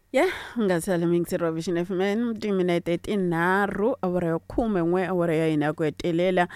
Ya nga sali muyingiseri wa Vision FM timinete tinharhu awara ya 11 awara ya hina ya ku hetelela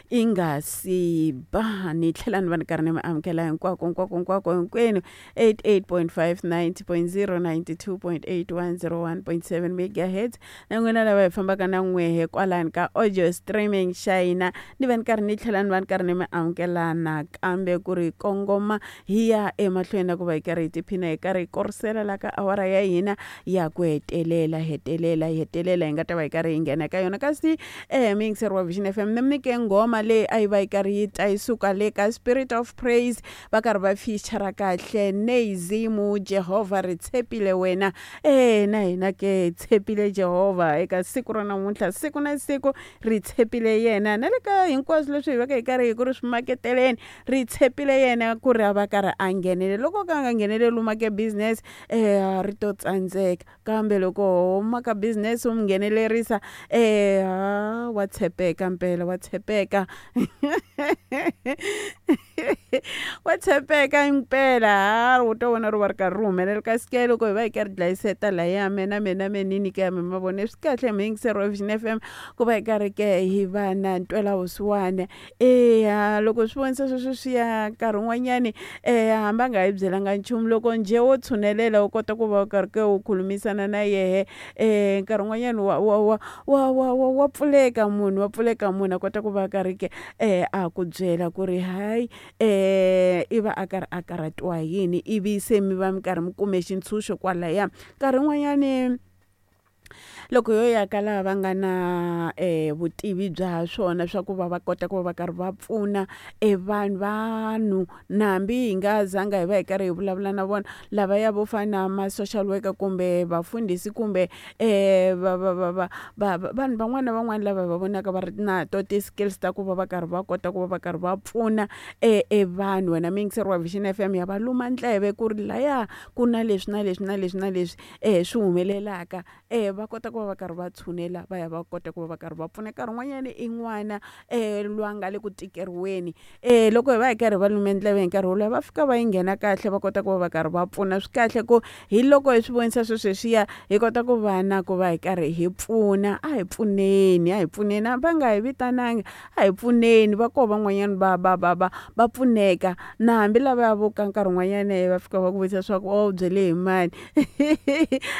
i nga si ba. Ni tlhela ni va ni karhi ni mi amukela hinkwako hinkwako hinkwako hinkwenu 88.5 90.0 92.8 101.7 megahertz na n'wina lava hi fambaka na n'wehe kwalani ka audio streaming xa hina. Ni va ni karhi ni tlhela ni va ni karhi ni mi amukela nakambe ku ri kongoma hi ya emahlweni na ku va hi karhi hi tiphina hi karhi hi korisela la ka awara ya hina ya ku hetelela hetelela hetelela hi nga ta va hi karhi hi nghena ka yona. Kasi muyingiseri wa Vision FM ni mi nyike nghoma leyi a yi va yi karhi yi ta yi suka le ka Spirit of Praise va karhi va feature kahle Neizimu Jehovha ri tshepile wena. Na hina ke hi tshepile Jehovha eka siku ra namuntlha, siku na siku ri tshepile yena na le ka hinkwaswo leswi hi vaka hi karhi hi ku ri swi maketeleni ri tshepile yena ku ri a va karhi a nghenele. Loko ka a nga ngheneleli u make business ri to tsandzeka, kambe loko ho maka business u mi nghenelerisa wa tshepeka mpela wa tshepeka wa tshepeka impela ha u to vona ri va ri karhi ri humelela. Kasi ke loko hi va hi karhi dlayiseta laya mena mena menini ke mi ma vone swi kahle muyingiseri wa Vision FM ku va hi karhi ke hi va na ntwela vusiwana. Eya loko swi vonisa sweswo swi ya nkarhi wun'wanyani hambi a nga hi byelanga nchumu loko njhe wo tshunelela u kota ku va u karhi ke u khulumisana na yehe nkarhi wun'wanyani wa wa wa wa wa wa wa pfuleka munhu wa pfuleka munhu a kota ku va karhi ke a ku byela ku ri hayi i va a karhi a karhatiwa hi yini ivi se mi va mi karhi mi kume xintshunxo kwalaya. Nkarhi wun'wanyani loko yo ya ka lava va nga na vutivi bya swona swa ku va va kota ku va va karhi va pfuna vanhu vanhu na hambi hi nga zanga hi va hi karhi hi vulavula na vona lavaya vo fana na ma-social worker kumbe vafundhisi kumbe va va va va va vanhu van'wana na van'wana lava hi va vonaka va ri na to ti-skills ta ku va va karhi va kota ku va va karhi va pfuna vanhu. Wena muyingiseri wa Vision FM ya va luma ndleve ku ri laya ku na leswi na leswi na leswi na leswi swi humelelaka va kota ku va va karhi va tshunela va ya va kota ku va va karhi va pfuna. Nkarhi wun'wanyani i n'wana loyi a nga le ku tikeriweni loko hi va hi karhi va lume ndleve hi nkarhi wolowo va fika va yi nghena kahle va kota ku va va karhi va pfuna. Swi kahle ku hi loko hi swi vonisa sweswiya hi kota ku va na ku va hi karhi hi pfuna. A hi pfuneni a hi pfuneni hambi va nga hi vitananga a hi pfuneni va koho van'wanyani va va va va va pfuneka na hambi lavaya vo ka nkarhi wun'wanyani va fika va ku vutisa swa ku u byele hi mani.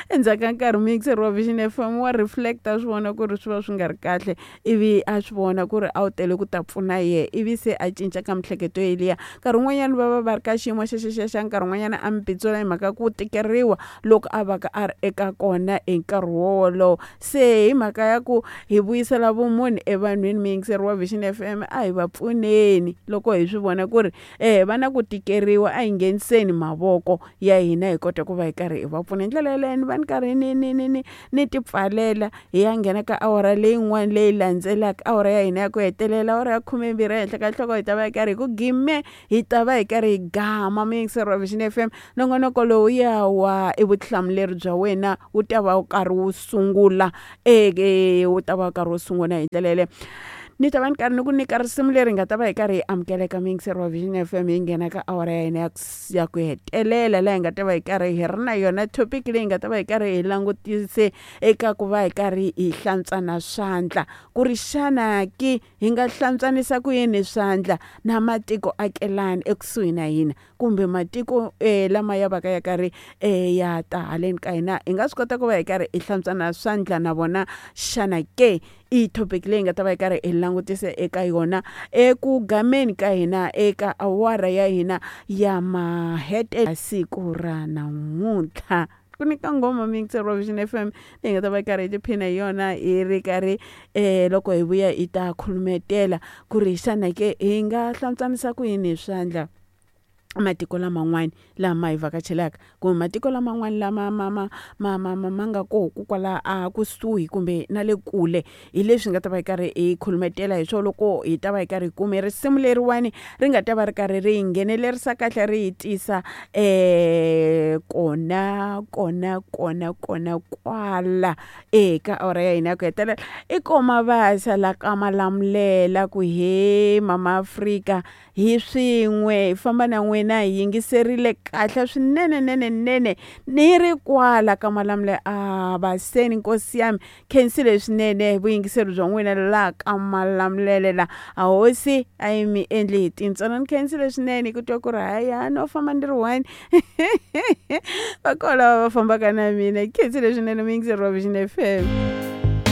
Endzhaku ka nkarhi muyingiseri wa Vision FM wa reflect-a swi vona ku ri swi va swi nga ri kahle ivi a swi vona ku ri a wu tele ku ta pfuna yehe ivi se a cinca ka miehleketo yeliya. Nkarhi wun'wanyani va va va ri ka xiyimo xexexexa nkarhi wun'wanyana a mi pitsula hi mhaka ku tikeriwa loko a va ka a ri eka kona hi nkarhi wowolowo. Se hi mhaka ya ku hi vuyisela vumunhu evanhwini muyingiseri wa Vision FM a hi va pfuneni loko hi swi vona ku ri va na ku tikeriwa a hi ngheniseni mavoko ya hina hi kota ku va hi karhi hi va pfuna. Hi ndlela yaleyo ni va ni karhi ni ni ni ni ni ti pfalela hi ya nghena ka awara leyin'wana leyi landzelaka awara ya hina ya ku hetelela awara ya 12 ehenhla ka nhloko hi ta va hi karhi hi ku gime hi ta va hi karhi hi gama. Muyingiseri wa Vision FM nongonoko lowu ya wa i vutihlamuleri bya wena wu ta va wu karhi wu sungula wu ta va wu karhi wu sungula hi ndlela yaleyo. Ni ta va ni karhi ni ku nyika risimu leri nga ta va hi karhi hi amukeleka muyingiseri wa Vision FM hi nghena ka awara ya hina ya ku hetelela laha hi nga ta va hi karhi hi ri na yona topic leyi nga ta va hi karhi hi langutise eka ku va hi karhi hi hlantswana swandla ku ri xana ki hi nga hlantswanisa ku yini swandla na matiko akelani ekusuhi na hina kumbe matiko lama ya va ka ya karhi ya ta haleni ka hina hi nga swi kota ku va hi karhi hi hlantswana swandla na vona xana ke. I topic leyi nga ta va hi karhi hi langutise eka yona eku gameni ka hina eka awara ya hina ya mahete siku ra namuntlha. Ku nyika nghoma muyingiseri wa Vision FM leyi nga ta va hi karhi hi tiphina hi yona hi ri karhi loko hi vuya hi ta khulumetela ku ri xana ke hi nga hlantswanisa ku yini hi swandla matiko laman'wana lama hi vhakachelaka kumbe matiko laman'wana lama ma ma ma ma ma ma nga koho kwala a kusuhi kumbe na le kule. Hi leswi nga ta va hi karhi hi khulumetela hi swona loko hi ta va hi karhi hi kume risimu leriwani ri nga ta va ri karhi ri hi nghenelerisa kahle ri hi tisa kona kona kona kona kwala eka awara ya hina ya ku hetelela. I koma vasa la ka Malamulele ku he mama Afrika hi swin'we hi famba na n'we. n'wina hi yingiserile kahle swinene nene nene ni ri kwala ka Malamulele a baseni nkosi yami khensile swinene vuyingiseri bya n'wina laha ka Malamulele la a hosi a yi mi endli hi tintswalo ni khensile swinene ku twa ku ri hayi no famba ni ri one va kona lava va fambaka na mina khensile swinene muyingiseri wa Vision FM.